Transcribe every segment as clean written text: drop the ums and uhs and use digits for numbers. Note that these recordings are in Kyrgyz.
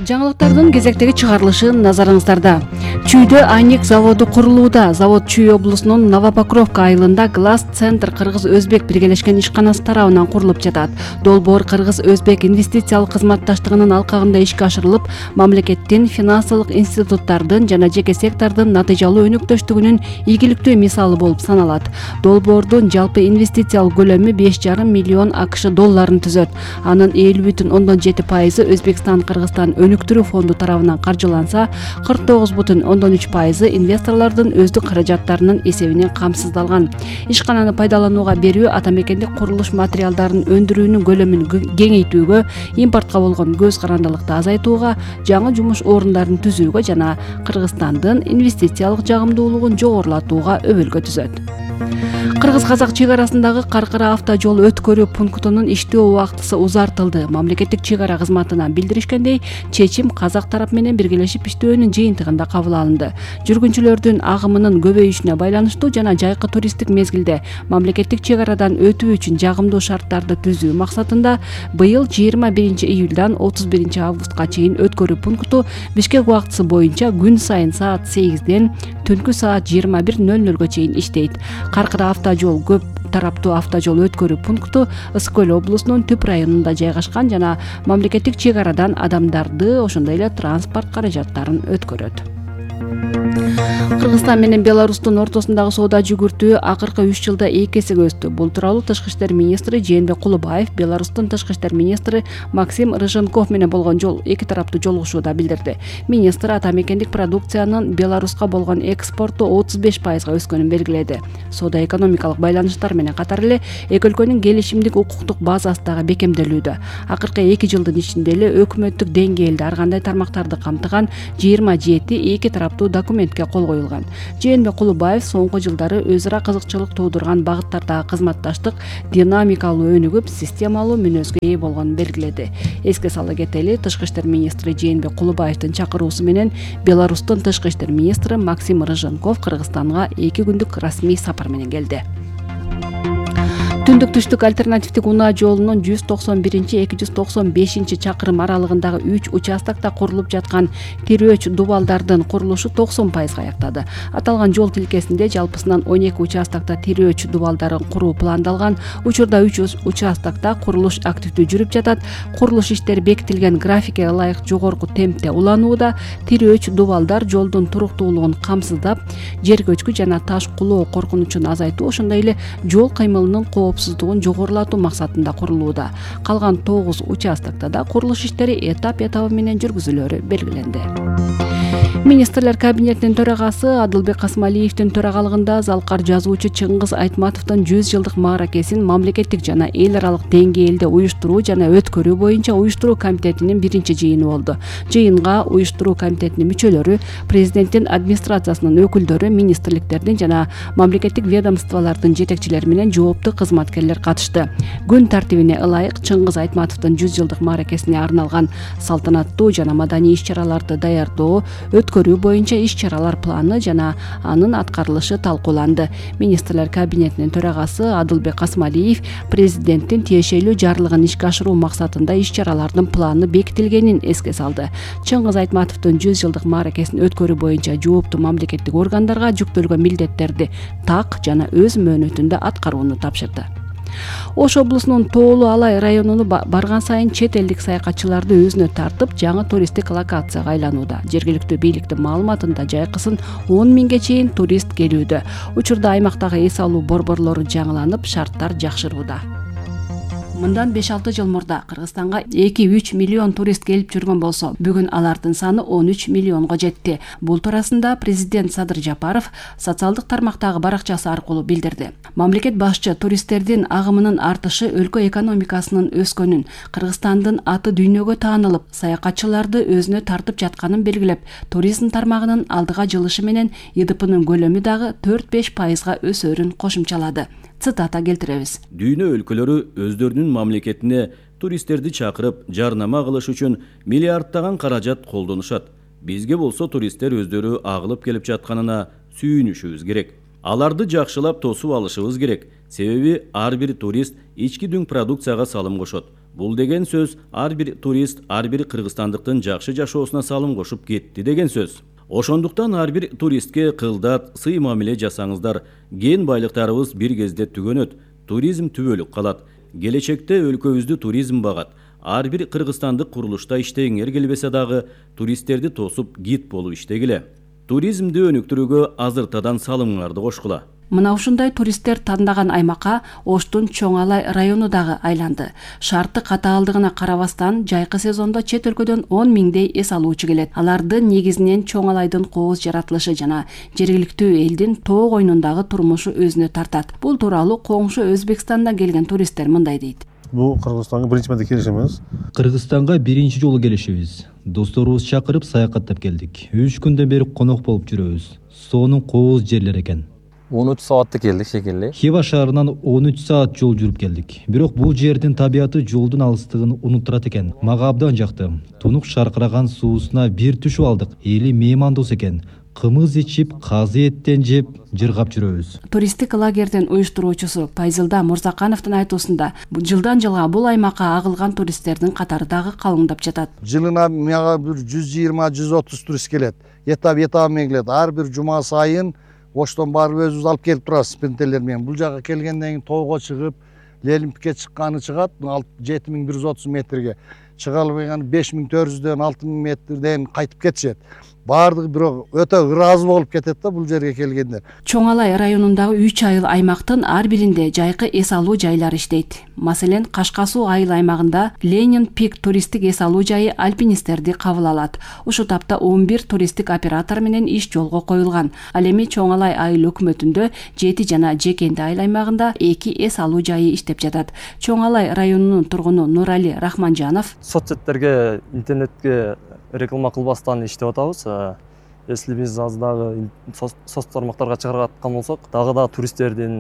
Жаңылыктардын кезектеги чыгарылышы назарыңыздарда. Чүйдө айнек заводу курулууда. Завод Чүй облусунун Новопокровка айылында Глаз Центр Кыргыз-Өзбек биргелешкен ишканасы тарабынан курулуп жатат. Долбоор Кыргыз-Өзбек инвестициялык кызматташтыгынын алкагында ишке ашырылып, мамлекеттин, финансылык институттардын жана жеке сектордун натыйжалуу өнөктөштүгүнүн ийгиликтүү мисалы болуп саналат. Долбоордун жалпы инвестициялык көлөмү 5,5 миллион АКШ долларын түзөт. Анын 50,7% Өзбекстан-Кыргызстан өнүктүрүү фонду тарабынан каржыланса, 49,3% инвесторлордун өздүк каражаттарынын эсебинен камсыздалган. Ишкананы пайдаланууга берүү ата мекендик курулуш материалдарын өндүрүүнүн көлөмүн кеңейтүүгө, импортко болгон көз карандылыкты азайтууга, жаңы жумуш орундарын түзүүгө жана Кыргызстандын инвестициялык жагымдуулугун жогорулатууга өбөлгө түзөт. Кыргыз-казак чек арасындагы Каркара автожол өткөрүү пунктунун иштөө убактысы узартылды. Мамлекеттик чек ара кызматынан билдиришкендей, чечим казак тарап менен биргелешип иштөөнүн жыйынтыгында кабыл алынды. Жүргүнчүлөрдүн агымынын көбөйүшүнө байланыштуу жана жайкы туристтик мезгилде мамлекеттик чек арадан өтүү үчүн жагымдуу шарттарды түзүү максатында быйыл 21 июлдан 31 августка чейин өткөрүү пункту Бишкек убактысы боюнча күн сайын саат 8ден түнкү саат 21:00 чейин иштейт. Каркара автожол көп тараптуу автожол өткөрүү пункту Ысык Көл облусунун Түп районунда жайгашкан жана мамлекеттик чек арадан адамдарды, ошондой эле транспорт каражаттарын өткөрөт. Кыргызстан менен Беларустун ортосундагы соода жүгүртүү акыркы 3 жылда 2 эсеге өстү. Бул тууралуу Тышкы иштер министри Жээнбек Кулубаев Беларустун Тышкы иштер министри Максим Рыженков менен болгон эки тараптуу жолугушууда билдирди. Министр ата мекендик продукциянын Беларуска болгон экспорту 35% өскөнүн белгиледи. Соода экономикалык байланыштар менен катар эле эки өлкөнүн келишимдик укуктук базасы дагы бекемделүүдө. Акыркы 2 жылдын ичинде эле өкмөттүк деңгээлде ар кандай тармактарды камтыган 27 эки тараптуу документке кол коюлган. Жээнбек Кулубаев соңку жылдары өз ара кызыкчылык туудурган багыттардагы кызматташтык динамикалуу өнүгүп, системалуу мүнөзгө ээ болгонун белгиледи. Эске сала кетели, Тышкы иштер министри Жээнбек Кулубаевдин чакыруусу менен Беларустун Тышкы иштер министри Максим Рыженков Кыргызстанга 2 күндүк расмий сапар менен келди. Түндүк-түштүк альтернативдик унаа жолунун 191-295 чакырым аралыгындагы 3 участокто курулуп жаткан Тирөөч дубалдардын курулушу 90% аяктады. Аталган жол тилкесинде жалпысынан 12 участокто Тирөөч дубалдарын куруу пландалган. Учурда 3 участокто курулуш активдүү жүрүп жатат. Курулуш иштери бекитилген графикке ылайык жогорку темпте уланууда. Тирөөч дубалдар жолдун туруктуулугун камсыздап, жер көчкү жана таш кулоо коркунучун азайтуу, ошондой эле жол кыймылынын коопсуздугун жогорулатуу максатында курулууда. Калган 9 участокто да курулуш иштери этап менен жүргүзүлөрү белгиленди. Министрлер кабинетинин төрагасы Адылбек Касмалиевдин төрагалыгында залкар жазуучу Чыңгыз Айтматовдун 100 жылдык мааракесин мамлекеттик жана эл аралык деңгээлде уюштуруу жана өткөрүү боюнча уюштуруу комитетинин биринчи жыйыны болду. Жыйынга уюштуруу комитетинин мүчөлөрү, президенттин администрациясынын өкүлдөрү, министрликтердин жана мамлекеттик ведомстволордун жетекчилери менен жооптуу кызматкерлер катышты. Күн тартибине ылайык Чыңгыз Айтматовдун 100 жылдык мааракесине арналган салтанаттуу жана маданий иш-чараларды даярдоо, өткөрүү боюнча иш-чаралар планы жана анын аткарылышы талкууланды. Министрлер кабинетинин төрагасы Адылбек Касмалиев президенттин тиешелүү жарлыгын ишке ашыруу максатында иш-чаралардын планы бекитилгенин эске салды. Чыңгыз Айтматовдун 100 жылдык мааракесин өткөрүү боюнча жооптуу мамлекеттик органдарга жүктөлгөн милдеттерди так жана өз мөөнөтүндө аткарууну тапшырды. Ош облусунун Тоолуу Алай районуну барган сайын чет элдик саякатчыларды өзүнө тартып, жаңы туристтик локацияга айланууда. Жергиликтүү бийликтин маалыматында жайкысын 10 миңге чейин турист келүүдө. Учурда аймактагы эс алуу борборлору жаңыланып, шарттар жакшырууда. Мындан 5-6 жыл мурда Кыргызстанга 2-3 миллион турист келип жүргөн болсо, бүгүн алардын саны 13 миллионго жетти. Бул туурасында президент Садыр Жапаров социалдык тармактагы баракчасы аркылуу билдирди. Мамлекет башчы туристтердин агымынын артышы өлкө экономикасынын өскөнүн, Кыргызстандын аты дүйнөгө таанылып, саякатчыларды өзүнө тартып жатканын белгилеп, туризм тармагынын алдыга жылышы менен ИДПнын көлөмү дагы 4-5% өсөрүн кошумчалады. Цитата келтиребиз. Дүйнө өлкөлөрү өздөрүнүн мамлекетине туристтерди чакырып, жарнама кылыш үчүн миллиарддаган каражат колдонушат. Бизге болсо туристтер өздөрү агылып келип жатканына сүйүнүшүбүз керек. Аларды жакшылап тосуп алышыбыз керек. Себеби ар бир турист ички дүң продукцияга салым кошот. Бул деген сөз ар бир турист ар бир кыргызстандыктын жакшы жашоосуна салым кошуп кетти деген сөз. Ошондуктан ар бир туристке кылдат, сый мамиле жасаңыздар. Кен байлыктарыбыз бир кезде түгөнөт, туризм түбөлүк калат. Келечекте өлкөбүздү туризм багат. Ар бир кыргызстандык курулушта иштегиңер келбесе дагы туристтерди тосуп гид болуп иштегиле. Туризмди өнүктүрүүгө азыртадан салымыңарды кошкула. Мына ушундай туристтер тандаган аймакка Оштун Чоң Алай району дагы айланды. Шарты катаалдыгына карабастан жайкы сезондо чет өлкөдөн 10 миңдей эс алуучу келет. Алардын негизинен Чоң Алайдын кооз жаратылышы жана жергиликтүү элдин тоо койнундагы турмушу өзүнө тартат. Бул тууралуу коңшу Өзбекстандан келген туристтер мындай дейт. Бул Кыргызстанга биринчи марта келишimiz. Кыргызстанга биринчи жолу келишибиз. Досторубуз чакырып саякаттап келдик. 3 күндөн бери конок болуп жүрөбүз. Сонун кооз жерлер экен. 13 саатта келдик шекелли. Хива шаарынан 13 саат жол жүрүп келдик. Бирок бул жердин табияты жолдун алыстыгын унуттурат экен. Мага абдан жакты. Тунук шаркыраган суусуна бир түшүп алдык. Эли меймандос экен. Кымыз ичип, казы эттен жеп, жыргап жүрөбүз. Туристтик лагердин уюштуруучусу Пайзылда Мурзакановдун айтуусунда, жылдан жылга бул аймакка агылган туристтердин катары дагы калыңдап жатат. Жылына мага бир 120-130 турист келет. Этап менен келет. Ар бир жума сайын Оштон барып өзүбүз алып келип турабыз спринтерлер менен. Бул жака келгенден кийин тоого чыгып, Лелимпикке чыкканы чыгат 7130 метрге. Чыга албаган 5400дөн 6000 метрден кайтып кетишет. Баардыгы бирок өтө ыраазы болуп кетет да бул жерге келгендер. Чоң Алай районундагы 3 айыл аймактын ар биринде жайкы эс алуу жайлары иштейт. Маселен, Кашка суу айыл аймагында Ленин Пик туристтик эс алуу жайы альпинисттерди кабыл алат. Ушул тапта 11 туристтик оператор менен иш жолго коюлган. Ал эми Чоң Алай айыл өкмөтүндө 7 жана Жекенди айыл аймагында 2 эс алуу жайы иштеп жатат. Чоң Алай районунун тургуну Нурали Рахманжанов Соцсеттерге, интернетке реклама кылбастан иштеп атабыз. Если биз аз дагы соц тармактарга чыгаргаткан болсок, дагы туристтердин,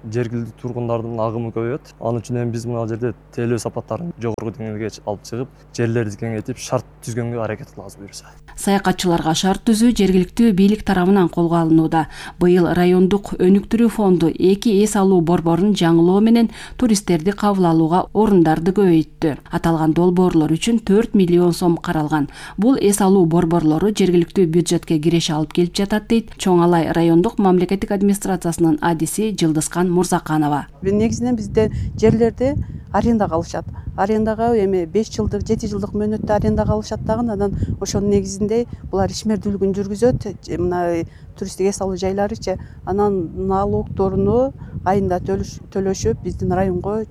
жергиликтүү тургундардын агымы көбөйөт. Анын үчүн эми биз мына жерде тейлөө сапаттарын жогорку деңгээлге алып чыгып, жерлерди кеңейтип, шарт түзгөнгө аракет кылабыз буюрса. Саякатчыларга шарт түзүү жергиликтүү бийлик тарабынан колго алынууда. Быйыл райондук өнүктүрүү фонду 2 эс алуу борборун жаңылоо менен туристтерди кабыл алууга орундарды көбөйттү. Аталган долбоорлор үчүн 4 миллион сом каралган. Бул эс алуу борборлору жергиликтүү бюджетке киреше алып келип жатат дейт Чоң Алай райондук мамлекеттик администрациясынын адиси Жылдызкан Мурзаканова. Негизинен бизде жерлерди арендага алышат. Арендага эми 5 жылдык, 7 жылдык мөөнөттө арендага алышат дагы, анан ошонун негизинде булар ишмердүүлүгүн жүргүзөт. Мына туристтик эс алуу жайларычы, анан налогторуну айында төлөшүп, биздин районго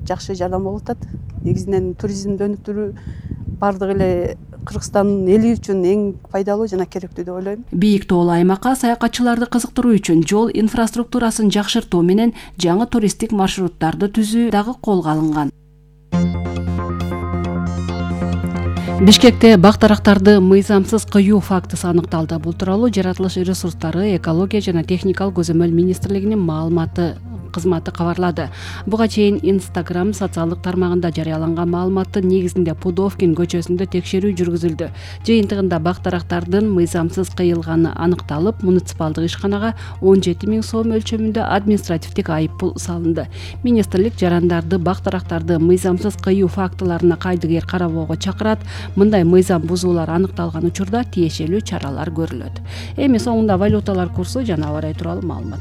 жакшы жардам болуп атат. Негизинен туризмди өнүктүрүү бардык эле Кыргызстандын эли үчүн эң пайдалуу жана керектүү деп ойлойм. Бийик тоолуу аймакка саякатчыларды кызыктыруу үчүн жол инфраструктурасын жакшыртуу менен жаңы туристтик маршруттарды түзүү дагы колго алынган. Бишкекте бак-дарактарды мыйзамсыз кыюу фактысы аныкталды. Бул тууралуу жаратылыш ресурстары, экология жана техникалык көзөмөл министрлигинин маалыматы кызматы кабарлады. Буга чейин Instagram социалдык тармагында жарыяланган маалыматтын негизинде Пудовкин көчөсүндө текшерүү жүргүзүлдү. Жыйынтыгында бак-дарактардын мыйзамсыз кыйылганы аныкталып, муниципалдык ишканага 17 000 сом өлчөмүндө административдик айыппул салынды. Министрлик жарандарды бак-дарактарды мыйзамсыз кыюу фактыларына кайдыгер карабоого чакырат. Мындай мыйзам бузуулар аныкталган учурда тиешелүү чаралар көрүлөт. Эми соңунда валюталар курсу жана аба ырайы тууралуу маалымат.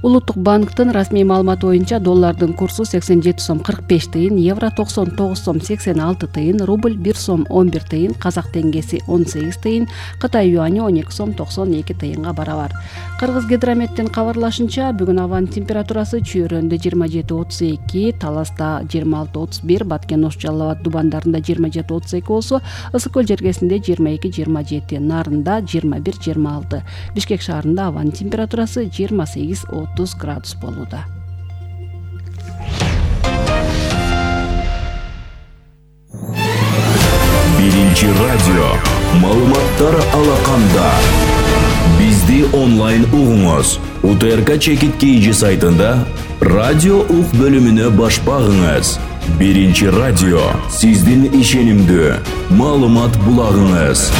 Улуттук банктын расмий маалыматы боюнча доллардын курсу 87 сом 45 тыйын, евро 99 сом 86 тыйын, рубль 1 сом 11 тыйын, казак теңгеси 18 тыйын, Кытай юани 12 сом 92 тыйынга барабар. Кыргыз гидрометтин кабарлашынча, бүгүн абанын температурасы Чүйрөндө 27-32, Таласта 26-31, Баткен Ош Жалал Абад дубандарында 27-32 болсо, Ысык көл жергесинде 22-27, Нарында 21-26. Бишкек шаарында абанын температурасы 28-30 градус болууда. Биринчи радио маалыматтар алаканда. Бизди онлайн угуңуз. УТРК Чекит KG сайтында радио ук бөлүмүнө баш багыңыз. Биринчи радио сиздин ишенимдүү маалымат булагыңыз.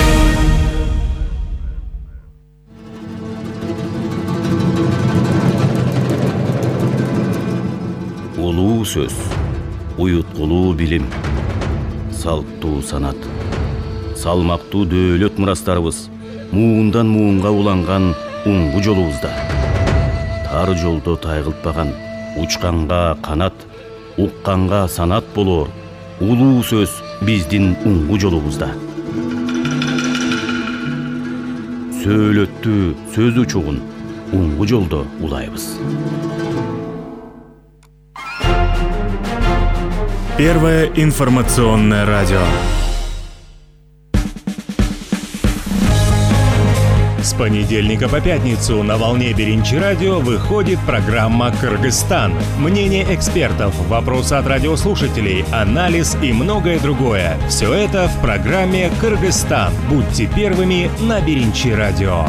сөз, уюткулуу билим, салттуу санат, салмактуу дөөлөт мурастарыбыз муундан муунга уланган уңгу жолубузда. Тар жолдо тайгылтпаган, учканга канат, укканга санат болоор улуу сөз биздин уңгу жолубузда. Сөөлөттүү сөз учугун уңгу жолдо улайбыз. Первое информационное радио. С понедельника по пятницу на волне Беринчи радио выходит программа «Кыргызстан». Мнение экспертов, вопросы от радиослушателей, анализ и многое другое. Все это в программе «Кыргызстан». Будьте первыми на Беринчи радио.